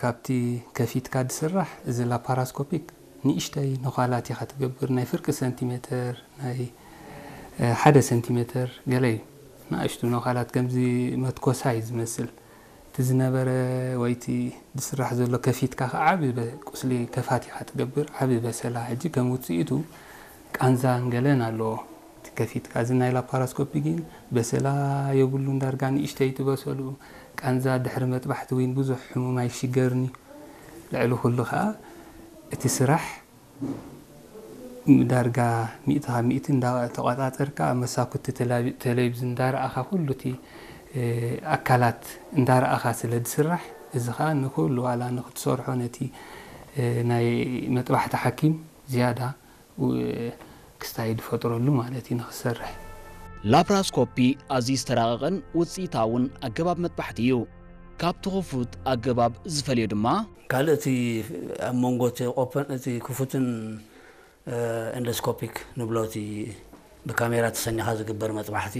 ካብቲ ከፊትካ ዝስራሕ እዚ ላፓራስኮፒክ ንእሽተይ ነዃላት ኢኻ ትገብር፣ ናይ ፍርቂ ሰንቲሜተር፣ ናይ ሓደ ሰንቲሜተር ገለ እዩ። ንኣሽቱ ነዃላት ከምዚ መትኮሳይ ዝመስል እቲ ዝነበረ ወይ እቲ ዝስራሕ ዘሎ ከፊትካ ከዓ ዓቢ ቁስሊ ከፋት ኢኻ ትገብር፣ ዓቢ በሰላ። ሕጂ ከም ውፅኢቱ ቃንዛን ገለን ኣለዎ እቲ ከፊትካ። እዚ ናይ ላፓራስኮፒ ግን በሰላ የብሉን፣ ዳርጋ ንእሽተይ ትበሰሉ። ቃንዛ ድሕሪ መጥባሕቲ እውን ብዙሕ ሕሙም ኣይሽገርን እዩ። ልዕሊ ኩሉ ከዓ እቲ ስራሕ ዳርጋ ሚእቲ ካብ ሚእቲ እንዳተቆጻጸርካ መሳኩቲ ቴሌቪ-፣ ቴሌቪዝን እንዳረኣኻ ኩሉ እቲ ኣካላት እንዳረኣኻ ስለ ዝስራሕ፣ እዚ ኸኣ ንኩሉ ዋላ ንክትሰርሖ ነቲ ናይ መጥባሕቲ ሓኪም ዝያዳ ክስታይ ዝፈጥረሉ ማለት እዩ ንክሰርሕ። ላፕራስኮፒ ኣዝዩ ዝተራቐቐን ውፅኢታውን ኣገባብ መጥባሕቲ እዩ። ካብቲ ክፉት ኣገባብ ዝፈልዮ ድማ፣ ካልእ እቲ ኣብ መንጎ እቲ ኦፐን እቲ ክፉትን ኤንዶስኮፒክ ንብሎ እቲ ብካሜራ ተሰኒኻ ዝግበር መጥባሕቲ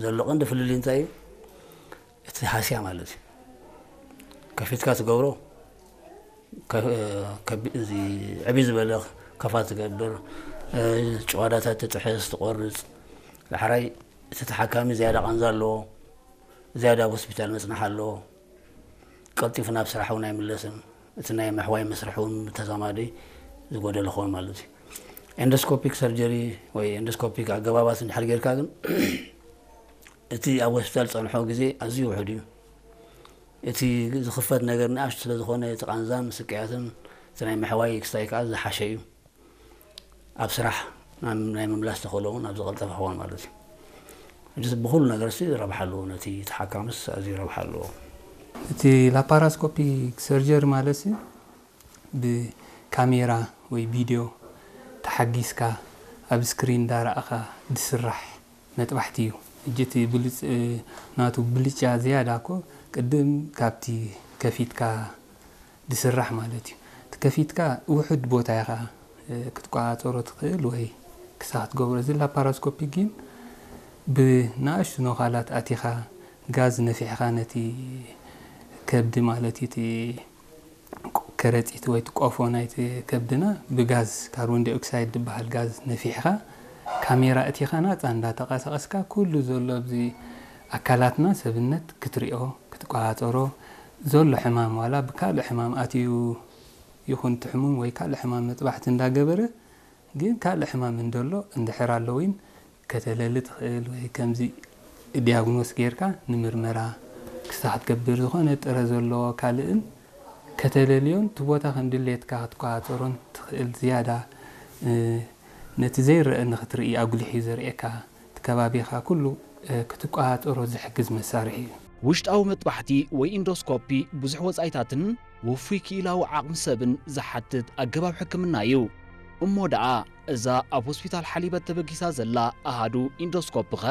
ዘሎ ቀንዲ ፍልልይ እንታይ እዩ? እቲ ሃስያ ማለት እዩ። ከፊትካ ትገብሮ ከ- ከቢ- እዚ ዕብይ ዝበለ ከፋ ትገብር፣ ጭዋዳታት ትጥሕስ ትቆርፅ። ዳሕራይ እቲ ተሓካሚ ዝያዳ ቃንዛ ኣለዎ፣ ዝያዳ ኣብ ሆስፒታል መፅናሕ ኣለዎ። ቀልጢፉ ናብ ስራሕ እውን ኣይምለስን። እቲ ናይ ምሕዋይ መስርሕ እውን ብተዛማዲ ዝጎደለ ክኸውን ማለት እዩ። ኤንዶስኮፒክ ሰርጀሪ ወይ ኤንዶስኮፒክ ኣገባባት እንድሕር ጌርካ ግን እቲ ኣብ ሆስፒታል ዝፀንሖ ግዜ ኣዝዩ ውሑድ እዩ። እቲ ዝኽፈት ነገር ንኣሽቱ ስለ ዝኾነ እቲ ቃንዛን ስቅያትን እቲ ናይ ምሕዋይ ክስታይ ከዓ ዝሓሸ እዩ። ኣብ ስራሕ ናይ ምምላስ ተኽእሎ እውን ኣብ ዝቐልጠፈ ክኾን ማለት እዩ። ሕጂ ብኹሉ ነገር ሲ ረብሓ ኣለዎ፣ ነቲ ተሓካምስ ኣዝዩ ረብሓ ኣለዎ። እቲ ላፓራስኮፒክ ሰርጀሪ ማለት ሲ ብካሜራ ወይ ቪድዮ ተሓጊዝካ ኣብ ስክሪን እንዳረኣኻ ዝስራሕ መጥባሕቲ እዩ። ሕጂ እቲ ብሉፅ ናቱ ብልጫ ዝያዳ እኮ ቅድም ካብቲ ከፊትካ ዝስራሕ ማለት እዩ። እቲ ከፊትካ ውሑድ ቦታ ኢኻ ክትቆፃፀሮ ትኽእል ወይ ክሳ ክትገብሮ። እዚ ላፓራስኮፒ ግን ብንኣሽቱ ነዃላት ኣቲኻ ጋዝ ነፊሕኻ ነቲ ከብዲ ማለት እዩ እቲ ከረፂት ወይ እቲ ቆፎ ናይቲ ከብድና ብጋዝ ካርቦን ዳይኦክሳይድ ዝበሃል ጋዝ ነፊሕኻ ካሜራ እቲኻ ናፃ እንዳተንቀሳቐስካ ኩሉ ዘሎ ኣብዚ ኣካላትና ሰብነት ክትሪኦ ክትቆፃፀሮ ዘሎ ሕማም ዋላ ብካልእ ሕማም ኣትዩ ይኹን እቲ ሕሙም ወይ ካልእ ሕማም መጥባሕቲ እንዳገበረ ግን ካልእ ሕማም እንደሎ እንድሕር ኣሎ እውን ከተለሊ ትኽእል ወይ ከምዚ ዲያግኖስ ጌርካ ንምርመራ ክስታ ክትገብር ዝኾነ ጥረ ዘለዎ ካልእን ከተለልዮን እቲ ቦታ ከም ድሌትካ ክትቆፃፀሮን ትኽእል ዝያዳ ነቲ ዘይረአ ንክትርኢ ኣጉሊሕ እዩ ዘርእየካ እቲ ከባቢኻ ኩሉ ክትቆፃፀሮ ዝሕግዝ መሳርሒ እዩ። ውሽጣዊ መጥባሕቲ ወይ ኢንዶስኮፒ ብዙሕ ወጻኢታትን ውፉይ ክኢላዊ ዓቕሚ ሰብን ዝሓትት ኣገባብ ሕክምና እዩ። እሞ ደኣ እዛ ኣብ ሆስፒታል ሓሊበት ተበጊሳ ዘላ ኣሃዱ ኢንዶስኮፒኸ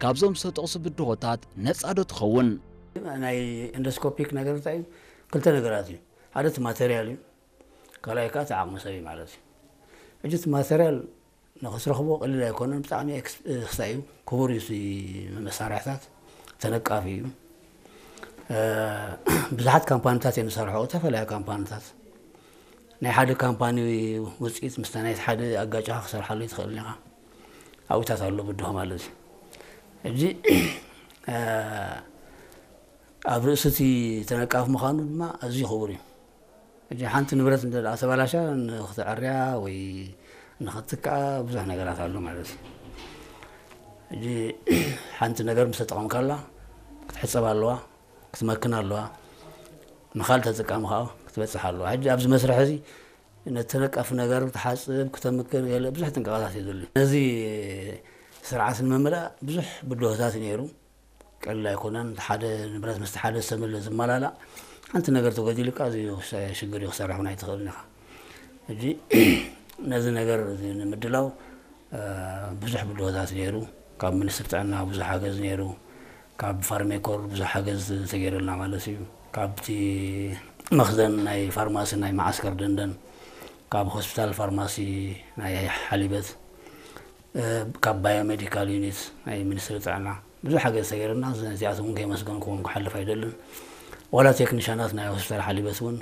ካብዞም ዝተጠቕሱ ብድሆታት ነጻ ዶ ትኸውን? ናይ ኢንዶስኮፒክ ነገር እንታይ እዩ? ክልተ ነገራት እዩ። ሓደ እቲ ማተርያል እዩ፣ ካልኣይ ከዓ እቲ ዓቕሚ ሰብ እዩ ማለት እዩ። ሕጂ እቲ ማተርያል ንኽትረኽቦ ቀሊል ኣይኮነን። ብጣዕሚ ክስታይ እዩ፣ ክቡር እዩ። መሳርሕታት ተነቃፊ እዩ። ብዙሓት ካምፓኒታት እየ ንሰርሖ፣ ዝተፈላለዩ ካምፓኒታት። ናይ ሓደ ካምፓኒ ውፅኢት ምስታ ናይ ሓደ ኣጋጫኻ ክሰርሓሉ ይትኽእል ኢኻ። ኣብታት ኣሎ ብድሆ ማለት እዩ። ሕጂ ኣብ ርእሲ እቲ ተነቃፊ ምዃኑ ድማ ኣዝዩ ክቡር እዩ። ሕጂ ሓንቲ ንብረት እንተ ደኣ ተባላሻ ንኽትዕርያ ወይ ንኽትትክኣ ብዙሕ ነገራት ኣሎ ማለት እዩ። ሕጂ ሓንቲ ነገር ምስ ተጠቐምካላ ክትሕጸብ ኣለዋ፣ ክትመክን ኣለዋ፣ ንኻል ተጠቃሚ ከዓ ክትበጽሕ ኣለዋ። ሕጂ ኣብዚ መስርሕ እዚ ነተነቀፍ ነገር ክትሓጽብ፣ ክተምክን ገለ ብዙሕ ጥንቃቐታት እዩ ዘድልዩ። ነዚ ስርዓት ንምምላእ ብዙሕ ብድሆታት እዩ ነይሩ። ቀሊል ኣይኮነን። ሓደ ንብረት ምስቲ ሓደ ዝተመለ ዝመላላእ ሓንቲ ነገር ተጎዲሉካ ኣዝዩ ሽግር እዩ፣ ክሰርሕ እውን ኣይትኽእልን ኢኻ። ሕጂ ነዚ ነገር እዚ ንምድላው ብዙሕ ብድሆታት ነይሩ። ካብ ሚኒስትሪ ጥዕና ብዙሕ ሓገዝ ነይሩ። ካብ ፋርሜኮር ብዙሕ ሓገዝ ተገይሩልና ማለት እዩ። ካብቲ መኽዘን ናይ ፋርማሲ ናይ መዓስከር ደንደን፣ ካብ ሆስፒታል ፋርማሲ ናይ ሓሊበት፣ ካብ ባዮሜዲካል ዩኒት ናይ ሚኒስትሪ ጥዕና ብዙሕ ሓገዝ ተገይሩልና፣ ነዚኣቶም እውን ከየመስገንኩዎም ክሓልፍ ኣይደልን። ዋላ ቴክኒሻናት ናይ ሆስፒታል ሓሊበት እውን